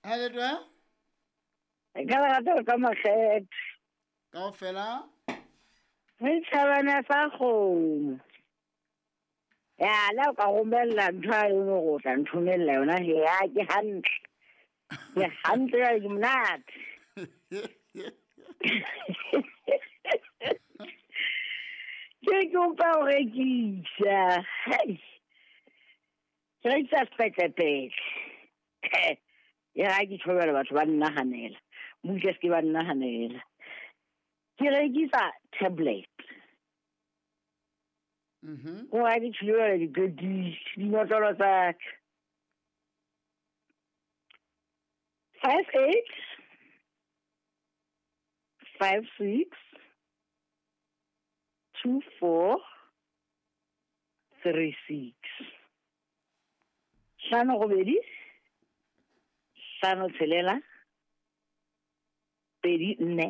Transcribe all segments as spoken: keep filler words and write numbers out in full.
Ha le twe? Ka lerato ka makgethe. Kaofela? Re tjhabana sa kgomo. Ya, la o ka romella ntho a e nngwe go tla nthomella yona he, ya ke hantle. Ke hantle jwale ke monate. Ke kopa ho rekisa. Hei. Ke rekisa sepetlelepetle. Ya ha ke tjhobela batho ba nnahanela. Mmutle se ke ba nnahanela. Ke rekisa tablet. Mhm. Ho ha ke tjhobela di-goodies, dinotlolo tsa ka. Five eight five six two four three six. Hlano robedi, hlano tshelela, pedi nne,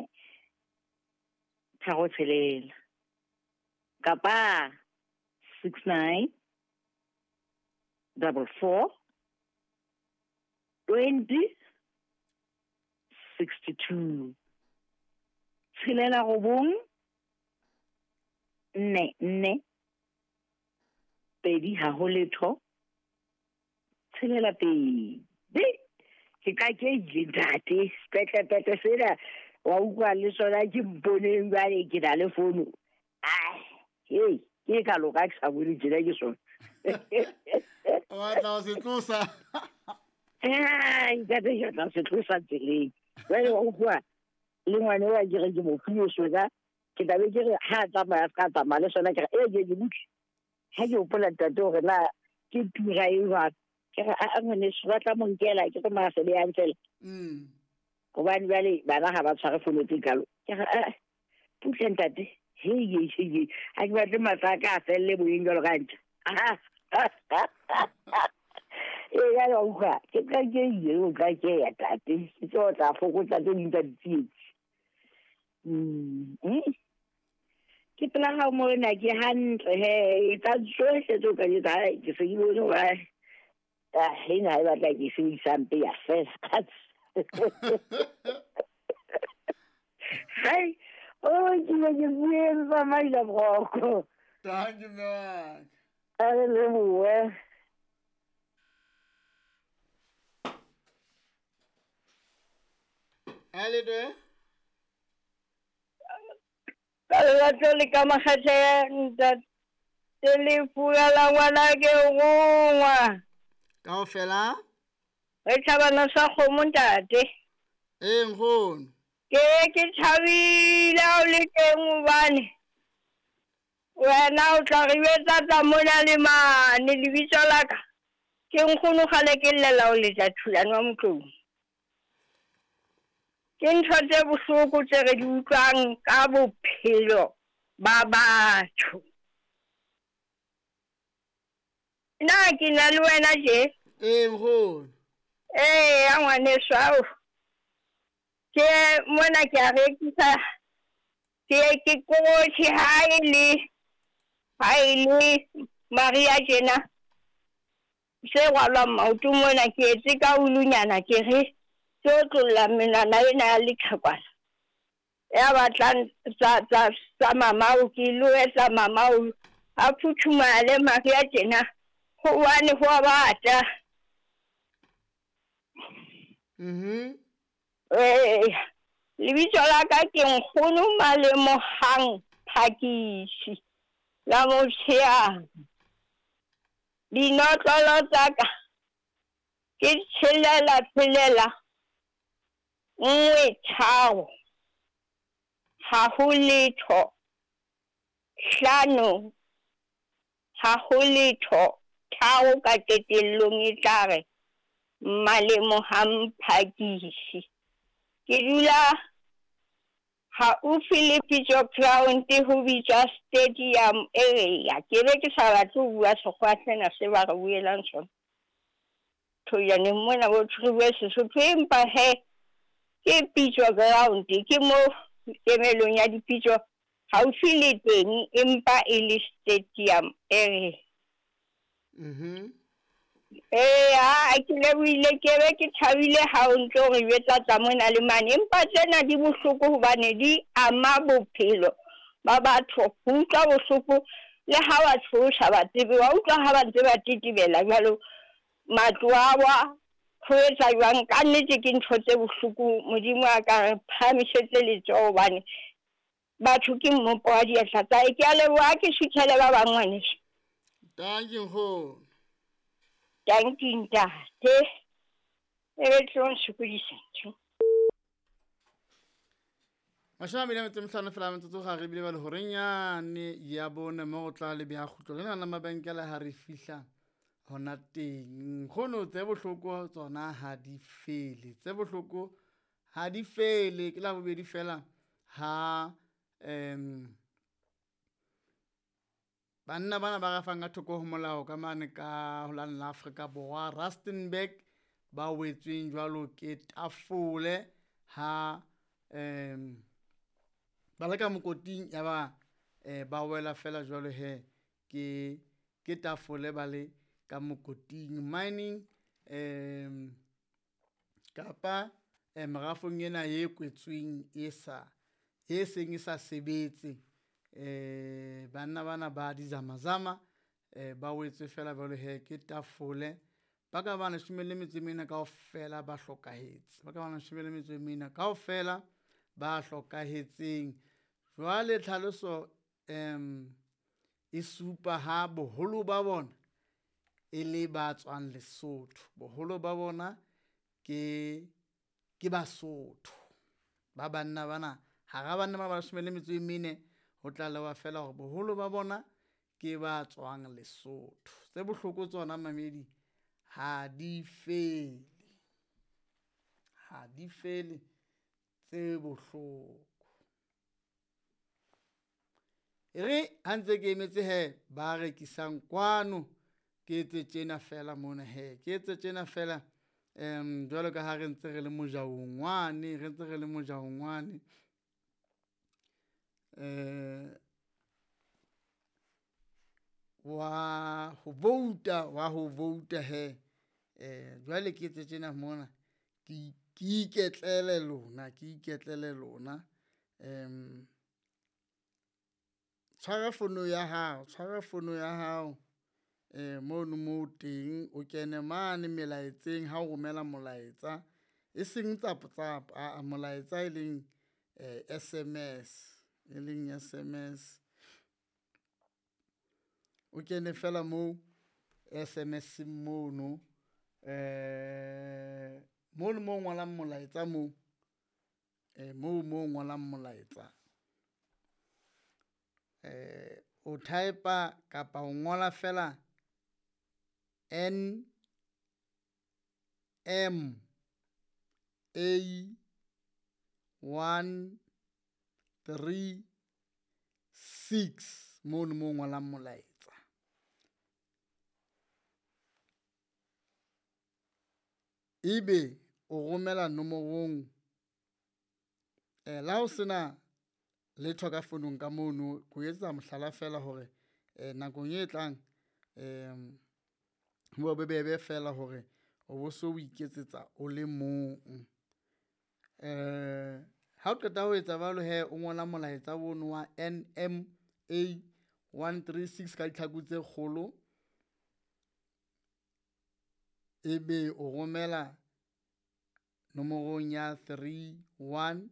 tharo tshelela. Kapa six nine double four twenty sixty two. Tshelela robong, nne nne, pedi ha ho letho, tshelela pedi. Ke ka ke ile ntate, sepetlelepetle sena wa utlwa le sona ke mponeng jwale ke na le fono. Ai, hei, ke ka loka ke sa bone tjena ke sona. O batla ho se tlosa. Ai, ntate, ke batla ho se tlosa tseleng. Jwale wa utlwa le ngwana wa ke re ke mo file sona, ke tla be ke re ha a tsamaya a ska tsamaya le sona, ke re, e, ke, ke butle. Ha ke hopola ntate hore na ke tura e jwang, ke re, a, a, ngwaneso, ba tla mo nkela, ke re masebe a ntsela. Mm. Hobane jwale bana ha ba tshware fono tse kalo. Ke re, a, butle ntate. Hei, hei, hei, hei. Ha ke batle matla a ka a felle moyeng jwalo ka ntja. Ee, jwale wa utlwa, ke tla ke ile, o tla ke ya tate. Ke tlo tla fokotsa tse ding tsa ditsietsi. Mm. Mm. Ke pela hao mona ke hantle he, etsa tsohle tseo ka di etsang, hai, ke se ke bone hore, ah, ena ha e batla ke sebedisa mpe ya fela. Hai, oh, ke ne ke bueng tsamaisa boroko. Thank you, mme wa ka. A re lebohe. Ha le twe? Ka lerato le ka makgethe, ntate, lefu la ngwana ke rongwa. Kaofela? Re tjhabana sa kgomo ntate. Ee, nkgono. Ke ke thabile ha o le teng hobane wena o tla re jwetsa tsa mona le mane. Lebitso la ka ke nkgono kgale ke llela ho letsa Thulane wa Motlou. Ke ntho tse bohloko tse re di utlwang ka bophelo ba batho. Na ke na le wena je? Ee, nkgono. Ee, ya ngwaneso, ao. Ke mona ke a rekisa, ke ke kotsi ha e le, ha e le Maria tjena. Se rwalwang maoto mona ke etse ka ulunyana ke re ke otlolla menwana ena ya leqhekwana. Ya batlang tsa, tsa, tsa mamao, ke lo etsa mamao a phuthumale Maria tjena, hobane ho a bata. Mhm. Ee, lebitso la ka ke Nkgono Malemohang Phakisi la Motshehang. Dinotlolo tsa ka ke tshelela tshelela nngwe tharo, ha ho letho, hlano, ha ho letho, tharo ka qetellong e tla re Malemohang Phakisi. Ke dula haufi le Pitso Ground, ho bitswa Stadium area. Ke be ke sa batle ho bua sekgowa sena se ba re buelang sona. Thojaneng mona bo re bue Sesotho, empa he ke Pitso Ground, ke mo kemelong ya dipitso haufi le teng, empa e le Stadium area. Mhm. Ee, ha ke lebohile, ke be ke thabile ha o ntso re jwetsa tsa mona le mane, empa tsena di bohloko hobane di ama bophelo ba batho. Ho utlwa bohloko le ha batho o sa ba tsebe, wa utlwa ha ba ntse ba tetebela jwalo, matlo a wa, ho etsa jwang. Ka nnete ke ntho tse bohloko. Modimo a ka re phahamisetse letsoho hobane batho ke mmopo wa diatla tsa hae. Ke a leboha, ke suthele ba bang ngwaneso. Dankie nkgono. Dankie ntate. E be tlo nsokodisa ntho. Mashome a mabedi a metso e mehlano fela metsotso ga re bile ba le horeng yane ya bone mo go tla le beha kgutlo lena la mabenkele ha re fihla hona teng. Nkgono, tse bohloko tsona ha di fele, tse bohloko ha di fele. Ke la bobedi fela ha um banna bana ba rafang ka thoko ho molao ka mane ka ho lane la Afrika Borwa Rustenburg ba wetsweng jwalo ke tafole ha um ba le ka mokoting ya ba eh, ba wela fela jwalo he ke ke tafole ba le ka mokoting mining um kapa eh, merafong ena e kwetsweng e sa e seng e sa sebetse. Eh banna bana ba dizamazama eh ba wetswe fela jwalo he ke tafole. Ba ka ba leshome le metso e mene kaofela ba hlokahetse, ba ka ba leshome le metso e mene kaofela ba hlokahetseng. Jwale tlhaloso um e supa ha boholo ba bona e le ba tswang Lesotho, boholo ba bona ke ke Basotho ba banna bana. Hara banna ba ba leshome le metso e mene ho tlalewa fela hore boholo ba bona ke ba tswang Lesotho. Tse bohloko tsona mamedi ha di fele, ha di fele tse bohloko. E re ha ntse ke emetse he ba rekisang kwano, ke etse tjena fela mona he, ke etse tjena fela um jwalo ka ha re ntse re le mojaong wane, re ntse re le mojaong wane eh wa ho vouta, wa ho vouta he. Eh jwale ke etse tjena mona, ke ke iketlele lona, ke iketlele lona. Um tshwara fono ya hao, tshwara fono ya hao eh mono mo teng, o kene mane melaetseng ha o romela molaetsa, e seng tsa WhatsApp, a molaetsa e leng eh S M S, e leng S M S. O kene fela mo S M S mono, eh mono mo ngolang molaetsa mo, eh mo mo ngolang molaetsa. Eh o type-a kapa o ngola fela N M A one three six mono mo ngolang molaetsa. Ebe o romela nomorong eh la ho sena letho ka fonong ka mono, ko etsa mohlala fela hore eh nakong e tlang em ho bobebe fela hore o bo so o iketsetsa o le mong. Eh ha o qeta ho etsa jwalo he, o ngola molaetsa ono wa N M A one three six ka ditlhaku tse kgolo, ebe o romela nomorong ya three one